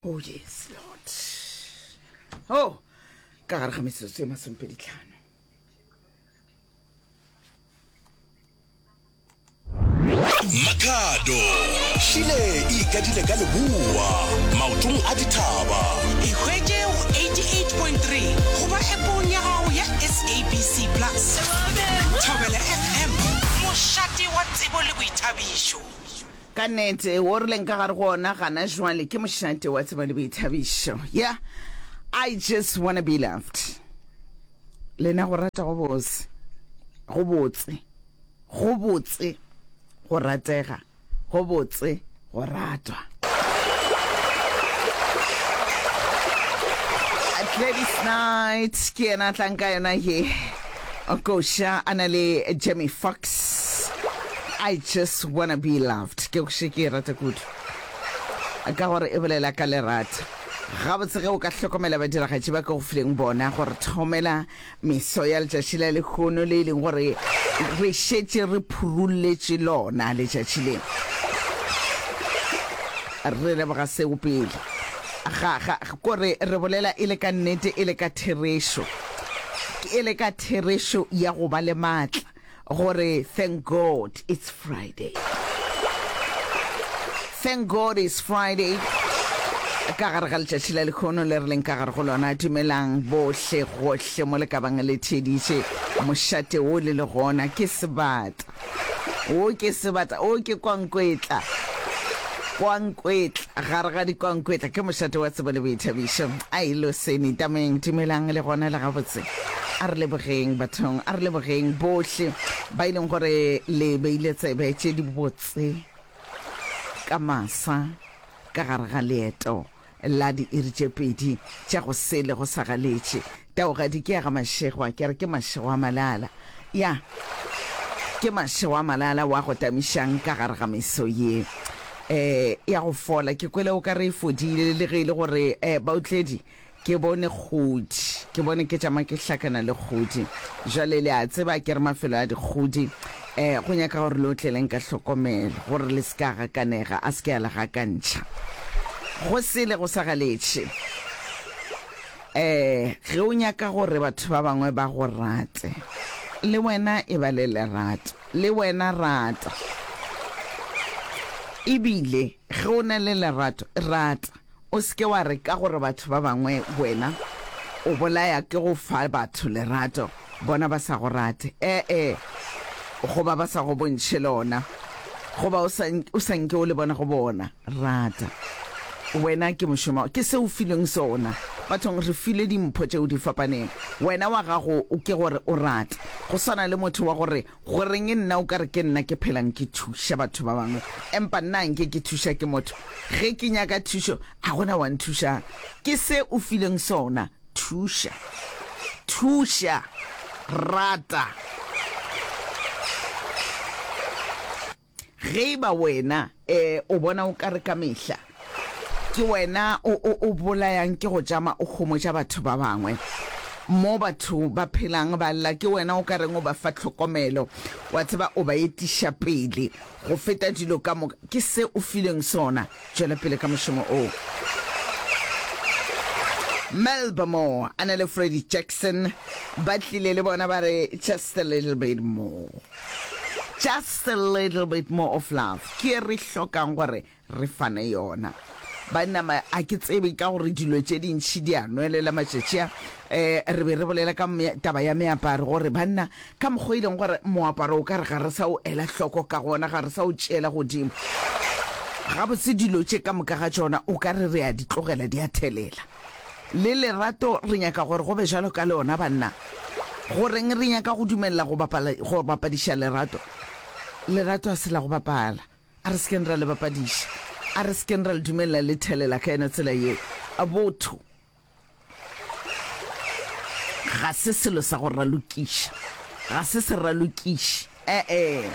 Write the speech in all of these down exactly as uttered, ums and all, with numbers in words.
Oh yes, Lord. Oh, ka gare ga metsotso e masomepedi tlhano. Makhado šile e ikadile ka leboa maotong a dithaba. Ikhwetše go eighty-eight point three goba appong ya gago ya S A B C Plus. Thobela F M, mošate wa tsebo le boithabišo. Ka nnete, wo re leng ka gare go ona gana jwale ke mošate wa tsebo le boithabišo. Yeah, I just wanna be loved. Lena go rata go bose, go botse, go botse, go ratega, go botse, go ratwa. Gladys Knight ke yena a tlang ka yona ye koša a na le Jamie Foxx, I Just Wanna Be Loved. Ke koše ke e rata kudu ka gore e bolela ka lerato. Gabotse ge o ka hlokomela badiragatši ba ke go fileng bona gore thomela meso ya letšatši la lehono le e leng gore re šetše re phurulletše lona letšatši le, re leboga seo pele ga ga kore re bolela e le ka nnete, e le ka therešo, e le ka therešo ya go ba le maatla gore thank God it's Friday. Thank God it's Friday ka gare ga letšatši la lekhono le re leng ka gare go lona. Dumelang bohle gohle mo le ka bang le theeditše mošate wo le le gona. Ke sebata wo, ke sebata wo, ke kwankwetla, kwankwetla gare ga dikwankwetla, ke mošate wa tsebo le boithabišo. Ai loseni tameng, dumelang le gona le gabotse. A re lebogeng bathong, a re lebogeng bohle ba e leng gore le beile tsebe tše dibotse ka masa ka gare ga leeto la diiri tše pedi tša go sele go sa galetše. Taogadi ke ya ga Mašego, ke re ke Mašego a Malala. Ya, ke Mašego a Malala wa go tamišang ka gare ga meso ye um ya go fola. Ke kwele o ka re e fodile, le ge e le gore um baotledi ke bone kgodi, ke bone ke tšama ke hlakana le kgodi. Jwale le a tseba ke re mafelo a dikgodi um go nyaka gore le otleleng ka hlokomelo gore le se ka gakanega, a se ke a le gakantšha. Go sele go sa galetše. Um ge o nyaka gore batho ba bangwe ba go rate, le wena e ba le lerato, le wena rata. Ebile ge o na le lerato, rata. O se ke wa re ka gore batho ba bangwe wena o bolaya ke go fa batho lerato, bona ba sa go rate, ee, goba ba sa go bontšhe lona, goba o sa, o sa nke o le bona go bona. Rata. Wena ke mošomo, ke se o filweng sona. Bathong re filwe dimpho tšeo di fapaneng. Wena wa gago ke gore o rate. Go swana le motho wa gore goreng nna o ka re ke nna ke phelang ke thuša batho ba bangwe, empa nna nke ke thuša ke motho. Ge ke nyaka thušo, a gona wa nthušang. Ke se o fileng sona. Thuša. Thuša. Rata. Ge e ba wena eh o bona o ka re ka mehla ke wena o o o bolayang ke go tšama o homotša batho ba bangwe, mo batho ba phelang ba lla ke wena o ka reng o ba fa tlhokomelo, wa tseba o ba etiša pele go feta dilo ka moka, ke se o filweng sona, tšwela pele ka mošomo oo. Melba Moore a na le Freddie Jackson ba tlile le bona ba re just a little bit more. Just a little bit more of love ke ye re hlokang gore re fane yona. Banna, ma, a ke tsebe ka gore dilo tše dintši di a nwelela matšatši a. Eh, re be re bolela ka me, taba ya meaparo, gore banna, ka mokgwa e leng gore moaparo o ka re ga re sa o ela hloko ka gona, ga re sa o tšeela godimo. Gabotse dilo tše ka moka ga tšona o ka re re a di tlogela di a thelela. Le lerato re nyaka gore go be jalo ka lona, banna. Goreng re nyaka go dumelela go bapala, go bapadiša lerato? Lerato a se la go bapala. A re se keng ra le bapadiša. A re se keng ra le dumelela le thelela ka yona tsela yeo. Botho ga se selo sa go ralokiša. Ga se seralokiši. E-e.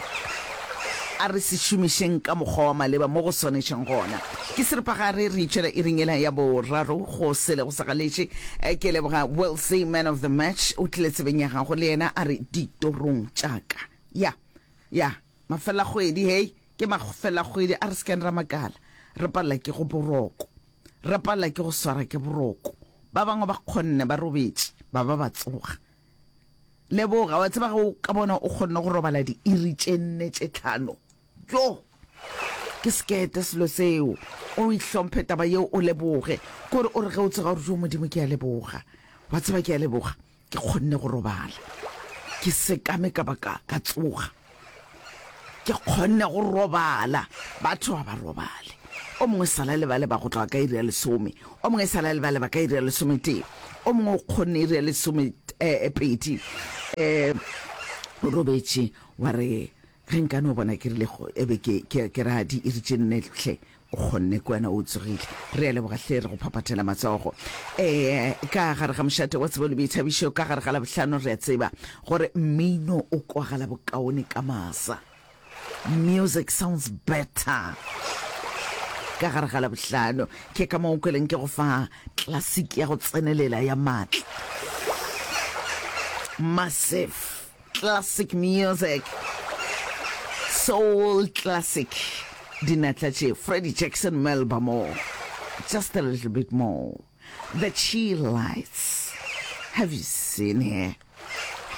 A re se šomišeng ka mokgwa wa maleba mo go swanetšeng gona. Ke seripagare re itšwela iring yela ya boraro go sele go sa galetše. Ke leboga Wilsey, man of the match, o tlile tsebeng ya gago le yena a re ditorong tša ka. Ya, ya, mafelakgwedi, hei, ke mafelakgwedi, a re se keng ra makala. Re palela ke go boroko. Re palela ke go swara ke boroko. Ba bangwe ba kgonne ba robetše, ba ba ba tsoga. Leboga, wa tseba ge o ka bona o kgonne go robala diiri tše nne tše tlhano. Jo! Ke sekete selo seo. O ihlomphe taba yeo o leboge. Kore o re ge o tsoga o re jo Modimo ke a leboga. Wa tseba ke a leboga ke kgonne go robala. Ke sekame ka ba ka ka tsoga. Ke kgonne go robala. Batho ga ba robale. O mongwe sala le ba leba go tloga ka iri ya lesome. O mongwe sala le ba leba ka iri ya lesometee. O mongwe o kgonne iri ya lesome eh, pedi. Eh, o robetše wa re Ge nka no bona ke rile go e be ke, ke, ke ra diiri tše nne hle, o kgonne ke wena o tsogile. Re a leboga hle, re go phaphathela matsogo. E, ka gare ga mošate wa tsebo le boithabišo, ka gare ga Labohlano re a tseba gore mmino o kwagala bokaone ka masa. Music sounds better ka gare ga Labohlano. Ke ka mo o kweleng ke go fa classic ya go tsenelela ya maatla. Massive. Classic music, soul classic, dinatla tše, Freddie Jackson, Melba Moore, just a little bit more, The Chi Lights, have you seen her,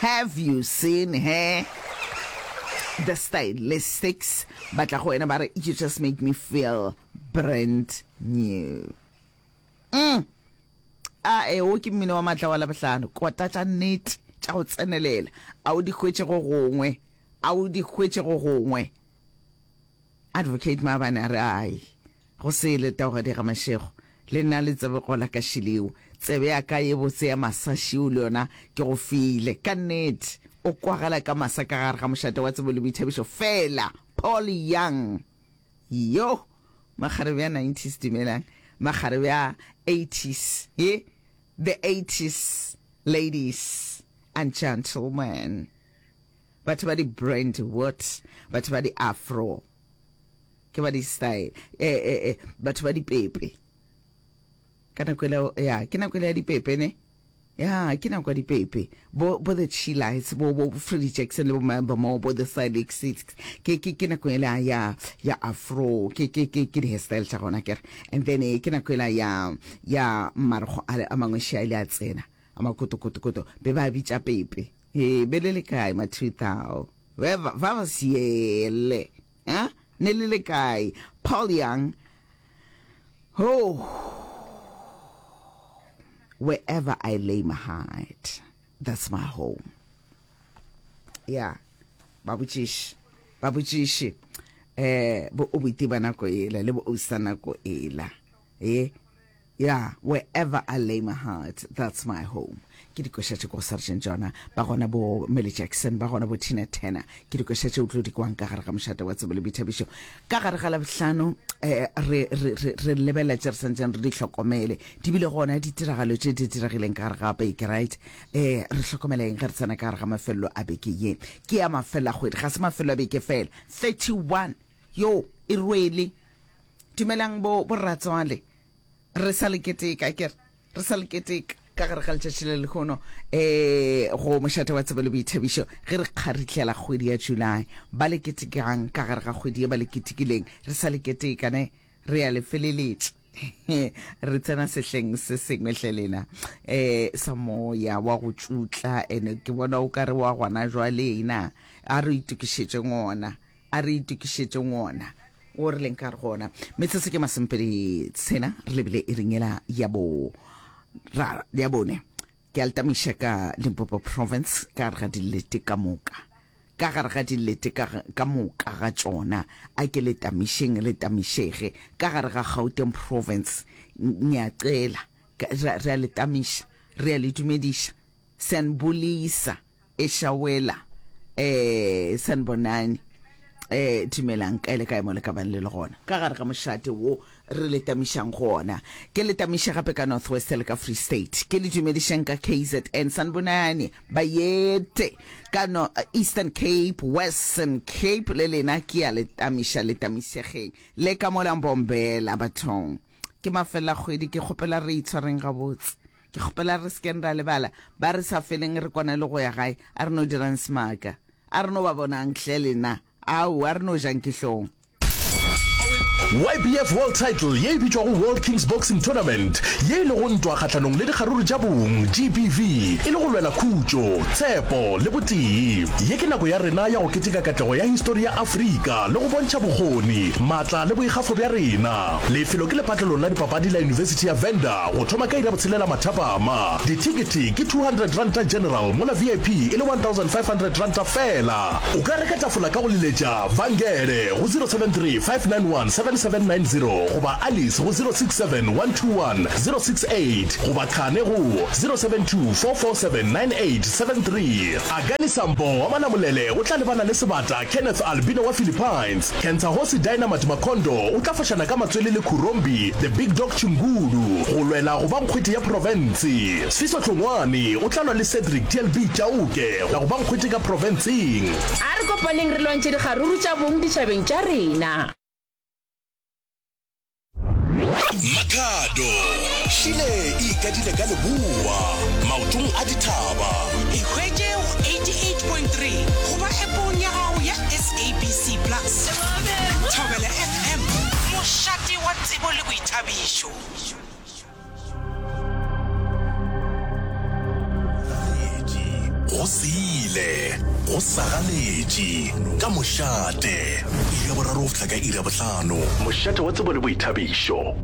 have you seen her, The Stylistics, ba tla go wena ba re, you just make me feel brand new. Mm. A e, wo ke mmino wa maatla wa Labohlano. Kota tša nnete tša go tsenelela. A o di hwetše go gongwe. A o di hwetše go gongwe. Advocate maabane a re, Ai, go sele, Taugadi ga Mashego. Le nna le tsebe gola ka šileo. Tsebe ya ka ye botse ya masašio le yona ke go file. Ka nnete, o kwagala ka masa ka gare ga mošate wa tsebo le boithabišo feela. Paul Young. Yoh! Makgarebe a nineties dumelang. Makgarebe a eighties ye, the eighties ladies and gentlemen. Batho ba di brand what? Batho ba di afro. Ke ba di style. Eh eh eh batho ba di pepe. Ka nako ela ya, ke nako ela ya dipepe ne? Ya, ke nako ya dipepe. Bo, bo The Chi-Lites, bo, bo Freddie Jackson le bo Melba Moore, bo The Stylic Six. Ke, ke, ke nako ela ya, ya afro. Ke, ke, ke, ke di-hairstyle tša gona, akere. And then, eh, ke nako ela ya, ya marokgo ale a mangwe še a ile a tsena, a makotokotokoto. Be ba bitša pepe. Hee, be le le kae ma two thou? Be ba, ba ba siele. Ha? Ne le le kae? Paul Young. Oh, wherever I lay my heart, that's my home. Yeah, ba botšiše, ba botšiše eh bo o boiti ba nako ela le bo ousa nako ela. Eh, yeah, wherever I lay my heart, that's my home. Ke dikoša tše ko Sergeant Jona, ba gona bo Millie Jackson, ba gona bo Tina Turner. Ke dikoša tše o tlo di kwang ka gare ga mošate wa tsebo le boithabišo. Ka gare ga Labohlano, eh, re, re, re, re lebelela tše re santšeng re di hlokomele. Di bile gona ditiragalo tše di diregileng ka gare ga beke, right? Eh, re hlokomela eng ge re tsena ka gare ga mafelelo a beke ye? Ke ya mafelelo a kgwedi, ga se mafelelo a beke fela. thirty one, yo, e rwele. Dumelang bo, bo rratswale. Re sa le keteka, akere? Re sa le keteka ka gare ga letšatši le lehono, eh, go mošate wa tsebo le boithabišo, ge re kgarihlela kgwedi ya July. Ba le ketekang ka gare ga kgwedi ye ba le ketekileng, re sa le keteka, ne? Re ya le feleletša. Re tsena sehleng se sengwe hle lena, eh, sa moya wa go tšutla, ene ke bona o ka re wa gona jwale na. A re itokišetšeng ona. A re itokišetšeng wona wo re leng ka gare go ona. Metsotso ke masomepedi tshela re lebile iring yela ya bo ra ya bone. Ke a le tamiša ka Limpopo Province ka gare ga dilete ka moka. Ka gare ga dilete ka, ka moka ga tšona. A ke le tamišeng le tamišege. Ka gare ga Gauteng Province ngiyacela. Re, re a le tamiša. Re a le dumediša. Siyanibulisa. Ešawela, eh, sanibonani, eh, dumelang, kae le kae mo le ka bang le le gona, ka gare ga mošate wo re le tamišang go ona. Ke le tamiša gape ka North West le ka Free State. Ke le dumedišang ka K Z N, sanibonani, bayete, ka no, Eastern Cape, Western Cape, le lena ke a le tamiša, le tamišegeng. Le ka mola Mbombela, bathong. Ke mafelakgwedi, ke kgopela re itshwareng gabotse. Ke kgopela re se keng ra lebala ba re sa feleng re kwana le go ya gae. A re no dirang semaka. A re no ba bonang hle lena. Aowa, a re no jang ke hlong. YBF World Title ye e bitšwago World Kings Boxing Tournament, ye e lego ntwa kgahlanong le dikgaruru tša bong, GBV, e le go lwela khutšo, tshepo le botee. Ye ke nako ya rena ya go keteka katlego ya histori ya Afrika le go bontšha bokgoni, maatla le boikgafo bja rena. Lefelo ke lepatlelong la dipapadi la Yunibesithi ya Venda go thoma ka iri ya botshelela mathapama. Dithekete ke two hundred ranta general mola VIP e le one thousand five hundred ranta fela. O ka reka tafola ka go leletša Vangele go zero seven three five nine one seven seven nine zero goba Alice go zero six seven one two one zero six eight goba Khane go zero seven two four four seven nine eight seven three. Akani Sambo wa Malamulele o tla lebana le sebata Kenneth Albino wa Philippines. Kentsahosi Dynamite Makondo o tla fošana ka matswele le Khurombi The Big Dog Chingulu go lwela go ba nkgwete ya profense. Sfiso Hlongwane o tla lwa le Cedric TLB Chauke go ba nkgwete ka profenseng. A re kopaneng re lwantšhe dikgaruru tša bong ditšhabeng tša rena. Makhado Šile e ikadile ka leboa maotong a dithaba. Ikhwetše go eighty-eight point three goba appong ya gago ya SABC Plus. Thobela FM, mošate wa tsebo le boithabišo. Go sele, go sagaletše, ka mošate, iri ya boraro go fihla ka iri ya bohlano. Mošate wa tsebo le boithabišo.